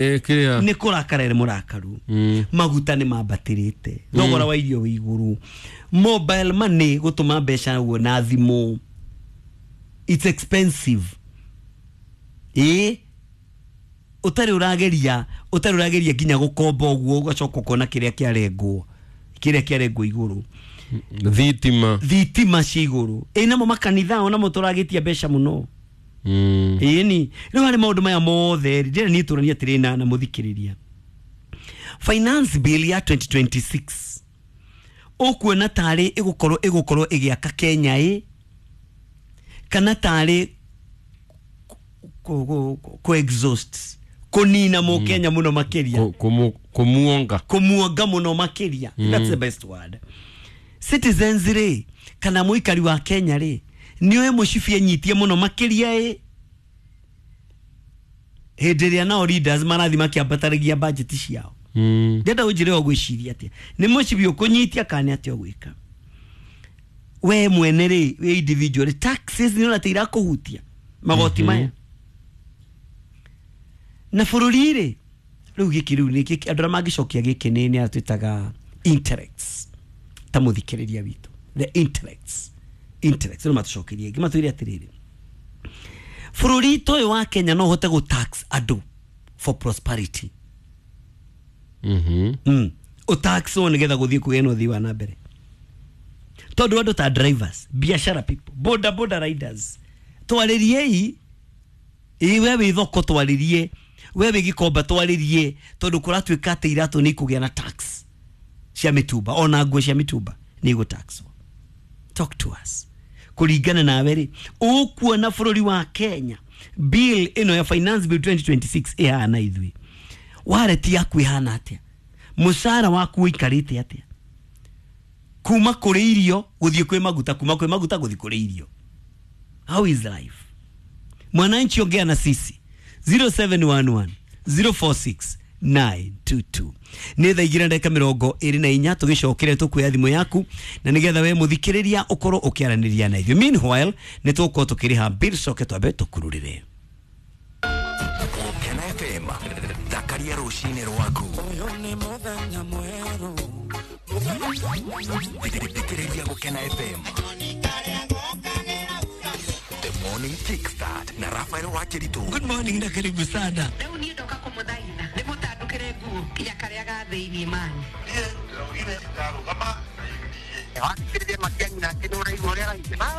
Kiria Nĩ kũrakara nĩ mũrakaru. Maguta nĩ mambatĩrĩte, thogora wa irio wĩ igũrũ, mobile money gũtũma mbeca ũguo na thimũ, it's expensive. Ĩ ũtarĩ ũrageria, ũtarĩ ũrageria nginya gũkomba ũguo, ũgacoka ũkona kĩrĩa kĩarengwo igũrũ. Thitima. Thitima cia igũrũ. Ĩ namo makanitha onamo tũragĩtia mbeca mũno. Ĩni rĩu harĩ maũndũ maya mothe rĩ, ndĩrenda niĩ tũranie atĩrĩ na mũthikĩrĩria, finance bill ya 2026 ũkuona tarĩ ĩgũkorwo ĩgĩaka Kenya ĩ kana tarĩ kũ exhaust, kũnina mũkenya mũno makĩria? Kumuonga. Kũmuonga mũno makĩria. That's the best word. Citizens rĩ, kana mũikari wa Kenya rĩ, nĩ oĩ mũcibi enyitie mũno makĩria ĩ hĩndĩ ĩrĩa nao leaders marathi makĩambataragia budget ciao. Ndĩrenda ũnjĩre ũgwĩciria atĩa, nĩ mũcibi ũkũnyitia kana nĩ atĩa ũgwĩka we mwene rĩ, wĩ individual? Taxes nĩ ũrona ta irakũhutia, magoti maya na bũrũri rĩ, rĩu gĩkĩ rĩu nĩ gĩkĩ andũ arĩa mangĩcokia gĩkĩ nĩ arĩa twĩtaga intellects ta mũthikĩrĩria witũ, the intellects rĩu matũcokerie ngĩ matwĩre atĩrĩrĩ, bũrũri ta ũyũ wa Kenya no ũhote gũ tax andũ for prosperity? Ũtaxwo nĩgetha gũthiĩ kũgĩe na ũthii wa na mbere, tondũ andũ ta drivers, biashara people, boda boda riders, twarĩriei. Ĩ we wĩ thoko twarĩrie, we wĩ Gĩkomba twarĩrie, tondũ kũratuĩka atĩ iratũ nĩ ikũgĩa na tax cia mĩtumba, ona nguo cia mĩtumba nĩ igũtaxwo. Talk to us. Kũringana nawe rĩ, ũkuona bũrũri wa Kenya bill ĩno ya finance bill 2026 ĩhana ithuĩ? Wallet yaku ĩhana atĩa? Mũcara waku ũikarĩte atĩa kuma kũrĩ irio gũthiĩ kwĩ maguta, kuma kwĩ maguta gũthiĩ kũrĩ irio? How is life, mwananchi? Ongea na sisi 0711 046 922. Nĩ thaa 2:24. Tũgĩcokere tũkuoya thimũ yaku na nĩgetha we mũthikĩrĩria ũkorwo ũkĩaranĩria na ithuĩ. Meanwhile nĩ tũgũkorwo tũkĩrĩha bill, coke twambe tũkururĩre. Kena FM, thakaria rũcinĩ rwaku. Thikĩrĩria Gũkena FM, The Morning Kickstart na Rafael Wakĩritũ. Good morning na karibu sana. Rĩu niĩ ndoka kũmũthaitha ndĩmũtandũkĩre nguo nginya karĩa ga thĩiniĩ mani. Wakĩrĩria matiangi nake nĩ ũraigua ũrĩa araigua.